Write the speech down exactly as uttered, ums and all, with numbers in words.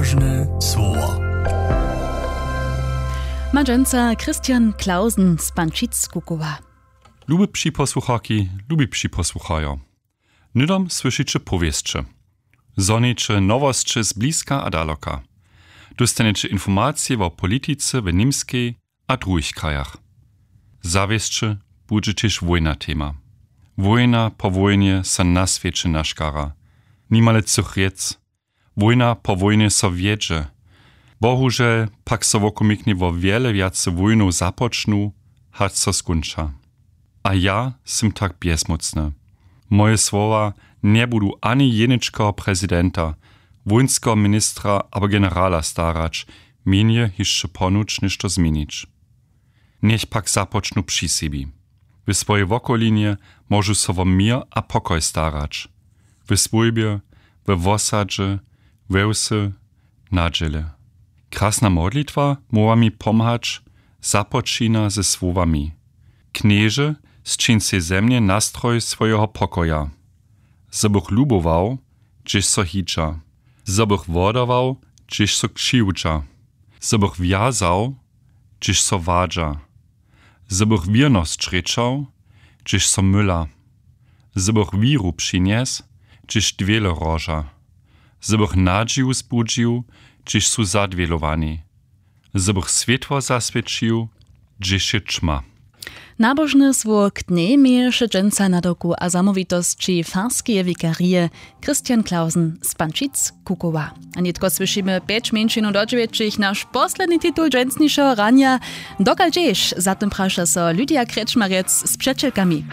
Ważne słowa. Ma dźensa Christian Clausen z Pančic Kukowa. Lube připosłucharki, lubi připosłucharjo. Hnydom słyšiće powěsće. Zhoniće nowosće z bliska a daloka. Dóstaneće informacije wo politice w Němskej a druhich krajach. Zawěsće budźe tež wójna tema. Wójna po wójnje so na swěće naškara. Nimale třoch rjec. Wójna po wójnje so wjedźe. Bohužel pak so wokomiknje wo wjele wjace wójnow započnu, hač so skónča. A ja sym tak bjezmócny. Moje słowa njebudu ani jeničkeho prezidenta, wójnskeho ministra abo generala starać, mjenje hišće ponuć něšto změnić. Njech pak započnu při sebi. W swojej wokolinje móžu so wo měr a pokoj starać. W swójbje, we wosadźe, we wsy, na dźěle. Krasna modlitwa móhła mi pomhać, započina ze słowami: Knježe, sćiń sej ze mnje nastroj swojeho pokoja. Zo bych lubował, hdźež so hidźa. Zo bych wodawał, hdźež so křiwdźa. Zo bych wjazał, hdźež so wadźa. Zo bych wěrnosć rěčał, hdźež so myla. Zo bych wěru přinjesł, hdźež dwěle roža. Zo bych nadźiju zbudźił, hdźež su zadwělowani. Zo bych swětło zaswěćił, hdźež je ćma. Nabožne słowo k dnjej měješe dźensa nadawku a zamołwitosći farskeje wikarije Christian Clausen z Pančic Kukowa. A nětko słyšimy pjeć mjeńšinow do dźewjećich, naš posledni titul dźensnišeho ranja. Dokal dźeš, za tym praša so Lydia Krečmarjec z přećelkami.